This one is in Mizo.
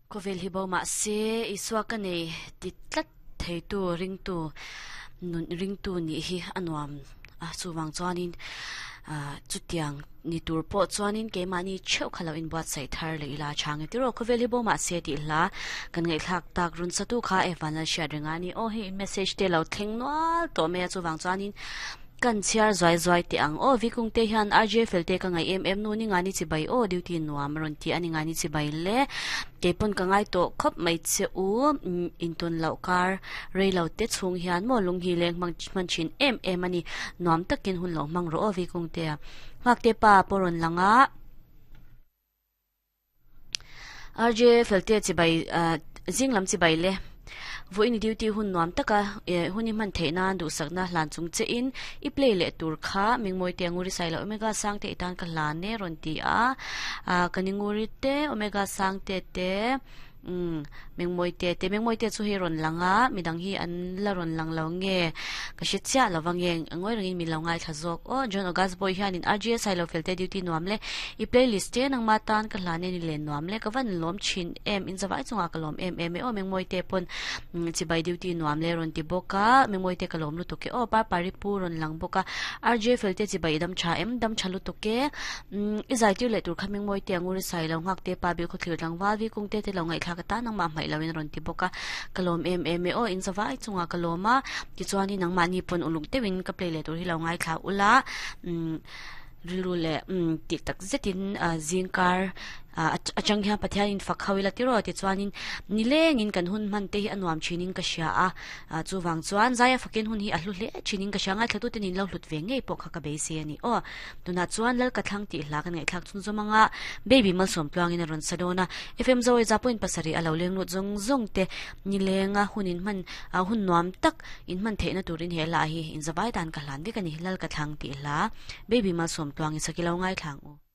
Khawvel hi bo mah se Isua ka nei ti tlat theitu ringtu nun ringtu nih hi a nuam a chuvang chuanin ah chutiang ni tur pawh chuanin keimahni theuh kha lo inbuatsaih thar leh ila chhang e tiraw khawvel hi bo mah se tih hla kan ngaihthlak tak run satu kha Evan Lalhriat renga a ni aw hei message te lo thleng nual tawh mai a chuvang chuanin Kan chhiar zuai zuai teh ang aw Vikung te hian RJ fel te ka ngaih em em nu ni ngani chibai aw duty nuam a rawn ti a ni ngani chibai le kei pawn ka ngai tawh khawp mai che u intawn loh kar rei lo te chhung hian maw lung hi leng hmang hman thin em em a ni nuam takin hun lo hmang rawh aw Vikung te nghak te pa pawh rawn lang a. RJ Felte chibai zing lam chibai le vawiin duty hun nuam taka hun i hman theih nan duhsakna hlan chung che in i play leh tur kha Mingmawi te Nguri Sailo Omega Sangte i tan ka hlan e rawn ti a ka ni Nguri te Omega Sangte te Umm, Mengmawite te, Mengmawite chu hei rawn lang a, midang hi an la rawn lang lo nge ka hre chiah lo va nge, ngawi rengin min lo ngaithla zawk aw. John August Boy hianin RGS Sailo Felte duty nuam le, i playlist te nangma tan ka hlan e ni len nuam le, ka van lawm thin em, in zavai chungah ka lawm em em e aw, Mengmawite pawn chibai duty nuam le rawn ti bawk a, Mengmawite ka lawm lutuk e aw, Parpari pu rawn lang bawk a, RJ Felte chibai i dam tha em, dam tha lutuk e. Umm i zai tir leh tur kha Mingmawi te Anguri sai lo nghak te pa bil khawthlir tlangval vi kung te te lo ngaihthlak atan nangmah hmaih lo in a rawn ti bawk a ka lawm em em e aw in zavai chungah ka lawm a tichuanin nangmahni pawn uluk deuhin ka play leh tur hi lo ngaithla ula umm rilru leh umm tih tak zetin ah zingkar ah atang hian Pathian in fak ho ila tiraw tichuanin nilengin kan hun hman te hi a nuam thinin ka hria a. Ah chuvang chuan Zaia fakin hun hi a hlu hle thinin ka hria ngaithla tute nin lo hlut ve ngei pawh kha ka beisei a ni aw. Tunah chuan Lal ka thlang tih hla kan ngaihthlak chhun zawm anga Baby malsawm tluangin a rawn sa dawn a. FM Zoe za point pasarih a lo leng lut zawng zawng te nilenga hun in hman ah hun nuam tak in hman theihna turin he hla hi in zavai dan ka hlan vek a ni Lal ka thlang tih hla Baby malsawm tluangin sakilo ngaithla ang u.